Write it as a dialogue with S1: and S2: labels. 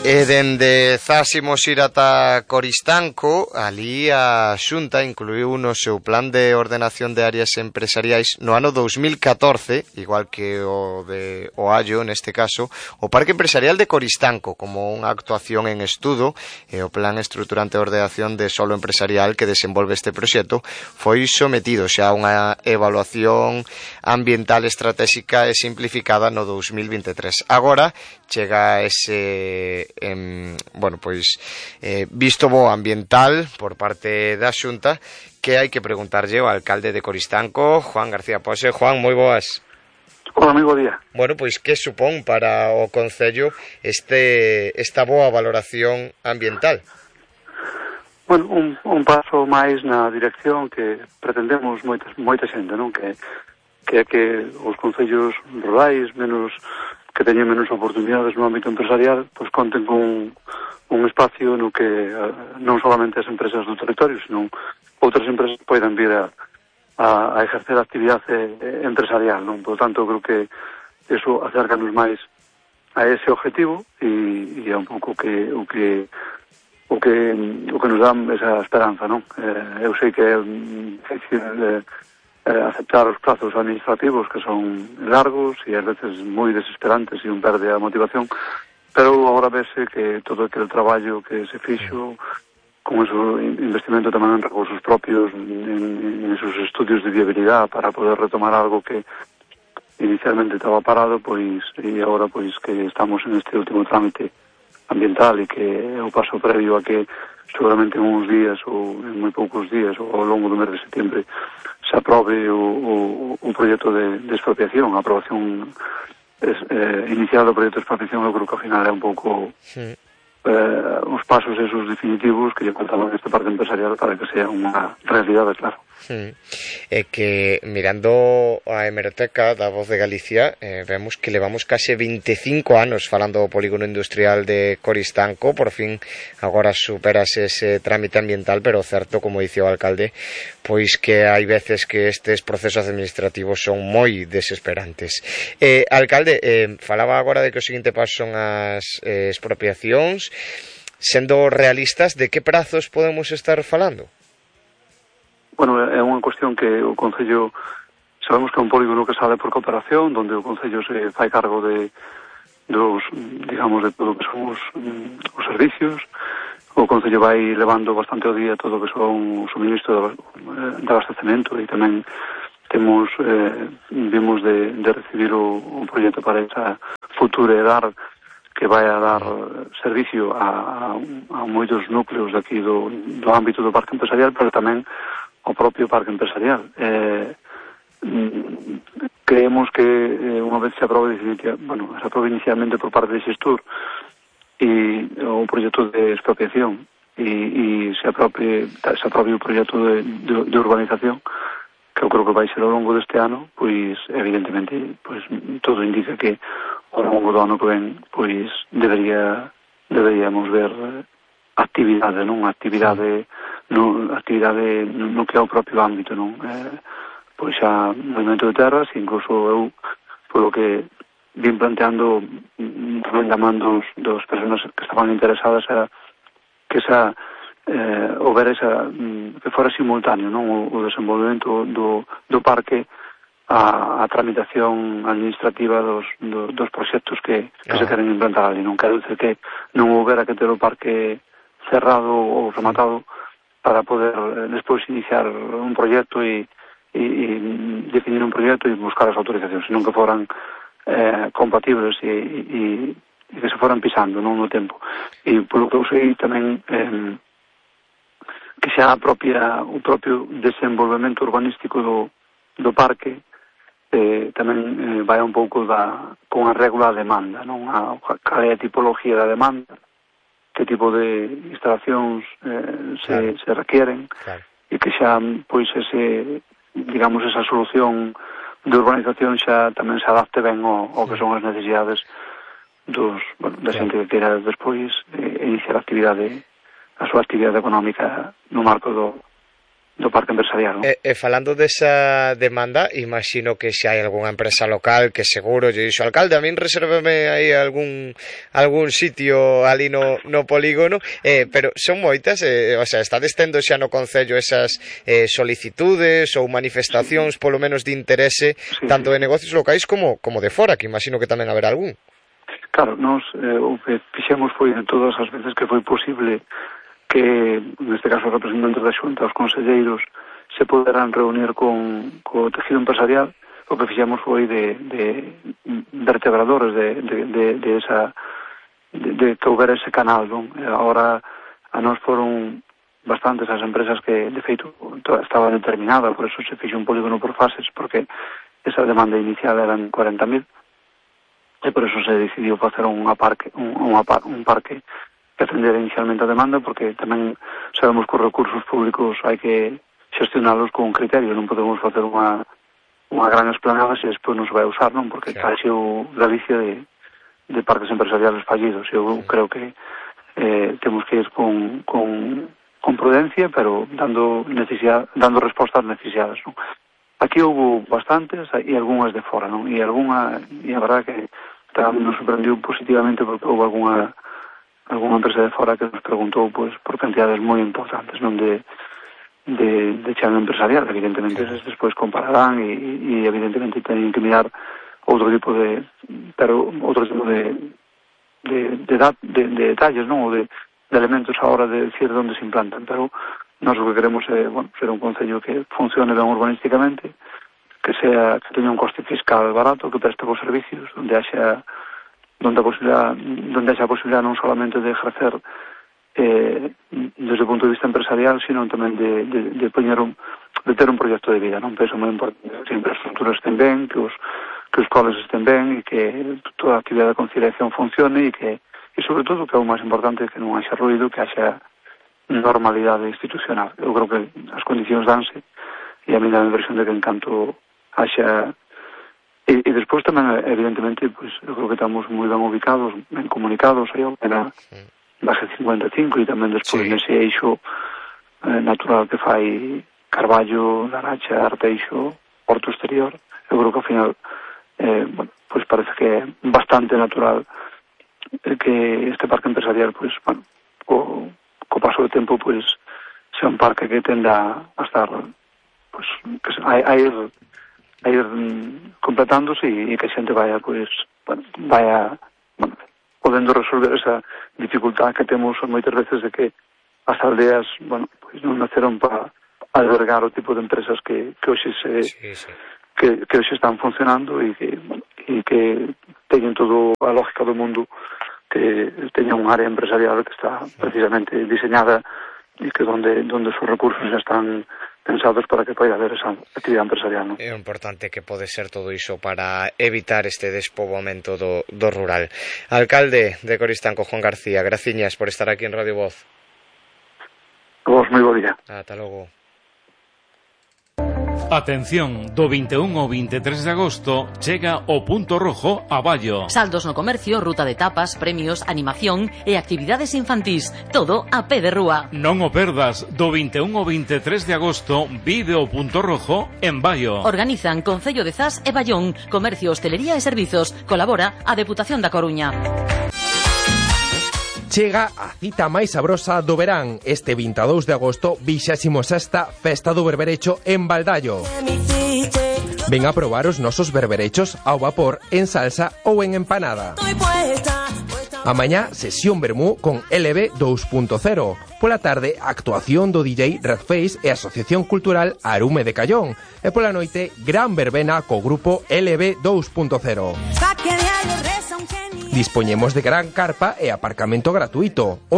S1: E dende Zas imos ir ata Coristanco. Ali a Xunta incluiu no seu plan de ordenación de áreas empresariais no ano 2014, igual que o de Oallo neste caso, o Parque Empresarial de Coristanco como unha actuación en estudo, e o plan estruturante de ordenación de solo empresarial que desenvolve este proxecto foi sometido xa a unha evaluación ambiental estratégica e simplificada no 2023. Agora chega ese visto bo ambiental por parte da Xunta, que hai que preguntarlle ao alcalde de Coristanco, Juan García Pose. Juan, moi boas.
S2: Hola, moi bo día.
S1: Bueno, pois que supón para o Concello esta boa valoración ambiental?
S2: Bueno, un paso máis na dirección que pretendemos moita xente, non? Que é que os concellos rurais que teñen menos oportunidades no ámbito empresarial, pois conten con un espacio no que non solamente as empresas do territorio, senón outras empresas poidan vir a exercer a actividade empresarial, non? Por tanto, creo que eso acércanos máis a ese objetivo e é un pouco o que nos dá esa esperanza, non? Eu sei que é difícil aceptar os plazos administrativos, que son largos e ás veces moi desesperantes e un perde a motivación, pero agora vese que todo aquele traballo que se fixo con ese investimento tamén en recursos propios, en esos estudios de viabilidade para poder retomar algo que inicialmente estaba parado, pois e agora pois que estamos en este último trámite ambiental e que é o paso previo a que seguramente en uns días ou en moi poucos días ou ao longo do mes de setembro se aprobe o proxecto de expropiación. A aprobación inicial do proxecto de expropiación, eu creo que ao final é un pouco os pasos esos definitivos que lle faltaban este parque empresarial para que sea unha realidade, claro.
S1: É que mirando a hemeroteca da Voz de Galicia vemos que levamos case 25 anos falando do polígono industrial de Coristanco. Por fin agora superase ese trámite ambiental, pero certo, como dice o alcalde, pois que hai veces que estes procesos administrativos son moi desesperantes. Alcalde, falaba agora de que o seguinte paso son as expropiacións. Sendo realistas, de que prazos podemos estar falando?
S2: Bueno, é unha cuestión que o Concello sabemos que é un polígono que sale por cooperación, donde o Concello se fai cargo de todo o que son os servicios. O Concello vai levando bastante ao día todo o que son o suministro de abastecemento e tamén vimos de recibir o proxecto para esa futura edad que vai a dar servicio a moitos núcleos daqui do ámbito do parque empresarial, pero tamén ao propio parque empresarial. Creemos que unha vez se aprobe inicialmente por parte de Xestur e o proxecto de expropiación e se aprobe o proxecto de urbanización, que eu creo que vai ser ao longo deste ano, pois evidentemente pois todo indica que ao longo do ano que ven pois deberíamos ver actividade, non? Actividade no que é o propio ámbito, non? Pois xa movimento de terras, incluso eu, polo que vim planteando tamén da man dos personas que estaban interesadas, era que que fora simultáneo, non? O desenvolvemento do parque a tramitación administrativa dos proxectos que se queren implantar ali. Non quero dizer que non houbera que ter o parque cerrado ou rematado para poder despois iniciar un proxecto e definir un proxecto e buscar as autorizacións, senón que foran compatibles e que se foran pisando non no tempo. E polo que eu sei tamén que xa o propio desenvolvemento urbanístico do parque tamén vai un pouco con a regula a demanda, non? Cal é a tipología da demanda, que tipo de instalacións se requieren, claro. E que xa, pois, esa solución de urbanización xa tamén se adapte ben ao que son as necesidades da xente que queira despois iniciar a súa actividade económica no marco parque empresarial, non?
S1: Falando desa demanda, imagino que se hai algunha empresa local que seguro lle dixo, alcalde, a min resérvame aí algún sitio ali no polígono, pero son moitas, o sea, estades tendo xa no Concello esas solicitudes ou manifestacións polo menos de interese, tanto de negocios locais como de fora, que imagino que tamén haberá algún.
S2: Claro, nós o que fixemos foi en todas as veces que foi posible que, neste caso, os representantes da Xunta, os conselleiros, se poderán reunir con o tejido empresarial. O que fixemos foi de vertebradores de que houbera ese canal, non? Agora, a nós foron bastantes as empresas que, de feito, estaba determinada, por eso se fixe un polígono por fases, porque esa demanda inicial eran 40.000, e por eso se decidiu facer un parque que atender inicialmente a demanda, porque tamén sabemos que os recursos públicos hai que xestionalos con un criterio, non podemos facer unha gran esplanada se despois non se vai usar, non? Porque claro, o Galicia de parques empresariales fallidos. Eu creo que temos que ir con prudencia, pero dando resposta ás necesidades, non? Aquí houve bastantes e algunhas de fora, non? E a verdade que tamén nos sorprendiu positivamente porque houve algunha empresa de fora que nos preguntou por cantidades moi importantes, non de chano empresarial. Evidentemente despois compararán e evidentemente teñen que mirar outro tipo de detalles, non, ou de elementos a hora de decir onde se implantan, pero nós o que queremos é, ser un concello que funcione ben urbanísticamente, que teña un coste fiscal barato, que preste bons servicios, onde haxa a posibilidad non solamente de ejercer desde o punto de vista empresarial, sino tamén de ter un proxecto de vida, non? Penso moi importante que as infraestructuras estén ben, que os coles estén ben, e que toda a actividade de conciliación funcione, e sobre todo, que é o máis importante, que non haxa ruido, que haxa normalidade institucional. Eu creo que as condicións danse, e a mí dá a impresión de que en canto haxa. E despois tamén, evidentemente, pues, eu creo que estamos moi ben ubicados, ben comunicados, aí na base 55, e tamén despois nese eixo natural que fai Carballo, Laracha, Arteixo, Porto Exterior. Eu creo que ao final pues parece que é bastante natural que este parque empresarial, pues, co paso do tempo, pues, sea un parque que tenda a estar, pues, a ir completándose e que a xente vaya podendo resolver esa dificultad que temos moitas veces de que as aldeas, pues non naceron para albergar o tipo de empresas que hoxe que hoxe están funcionando e que teñen todo a lógica do mundo, que teña un área empresarial que está precisamente diseñada e que donde os recursos já están pensados para que poida haber esa actividade empresarial, non?
S1: É importante que pode ser todo iso para evitar este despoboamento do rural. Alcalde de Coristanco, Juan García, graciñas por estar aquí en Radio Voz.
S2: Vos, moi bo día.
S1: Ata logo.
S3: Atención, do 21 ao 23 de agosto chega o Punto Rojo a Ballo.
S4: Saldos no comercio, ruta de tapas, premios, animación e actividades infantís. Todo a pé de rúa.
S3: Non o perdas, do 21 ao 23 de agosto vive o Punto Rojo en Ballo.
S4: Organizan Concello de Zas e Ballón, Comercio, Hostelería e Servizos. Colabora a Deputación da Coruña.
S5: Chega a cita máis sabrosa do verán. Este 22 de agosto, 26ª Festa do Berberecho en Baldallo. Ven a probar os nosos berberechos ao vapor, en salsa ou en empanada. Amañá, sesión vermú con LB 2.0. Pola tarde, actuación do DJ Redface e Asociación Cultural Arume de Callón. E pola noite, gran verbena co grupo LB 2.0. Dispoñemos de gran carpa e aparcamento gratuito.